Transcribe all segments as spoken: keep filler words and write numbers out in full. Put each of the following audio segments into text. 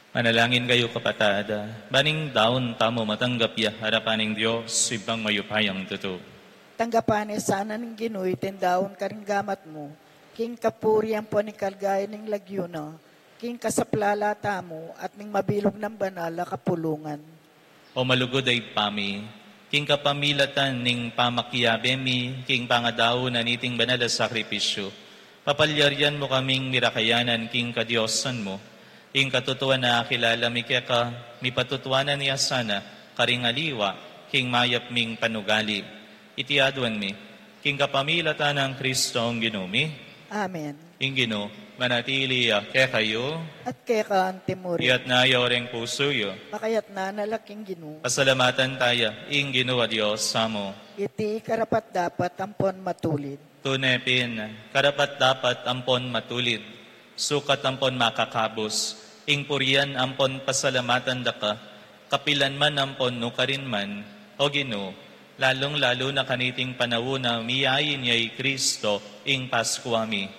Manalangin kayu, kapatad, ban ing daun tamu matanggap ya arapan ning Dios, Ibpang mayupayang tutu. Tanggapan na sana ning Ginu iting daun karing gamat mu, king kapurian ampon ing kaligayan ning lagyu na, king kasaplalan tamu at ning mabilug nang banal a kapulungan. O malugud a Ibpa mi, king kapamilatan ning pamakiabe mi king pangadaun na niting banal a sakripisyu, papalyarian mu kaming mirakayanan king kadiosan mu. Ing katutuan a kilala mi keka, mipatutuanan ya sana karing aliwa king mayap ming panugali. Iti aduan mi king kapamilatan nang Kristong Ginu mi. Amen. Ing Ginu manatili ya kekayu. At keka antimurin. Iyatas yu reng pusu yu. Makayatas na la king Ginu. Pasalamatan taya ing Ginu a Dios tamu. Iti karapat-dapat ampon matulid. Tune pin, karapat-dapat ampon matulid, sukat ampon makakabus, ing purian ampon pasalamatan da ka, kapilan man ampon nukarin man, O Ginu, lalung-lalu na kaniting panaun a miyain ya i Kristo ing Paskua mi.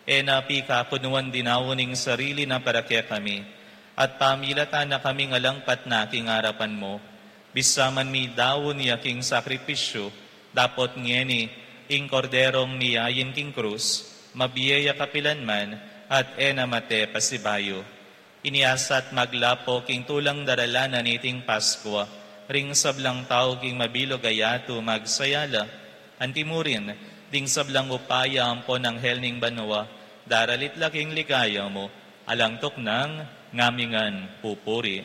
E na pikakunuan dinaun ing sarili na para kekami, at pamilatan na kaming alang patna king arapan mu. Bisa man midaun ya king sakripisyu, dapot ngeni ing Korderong miyain king krus, mabie ya kapilan man, at e na mate pasibayu. Inyasat maglapo king tulang daralan na niting Paskua, ring sablang tau king mabilug a yatu magsaya la, antimurin, ding sablang upaya ampon anghel ning banua, daralit la king ligaya mu, alang tuknang ngamingan pupuri.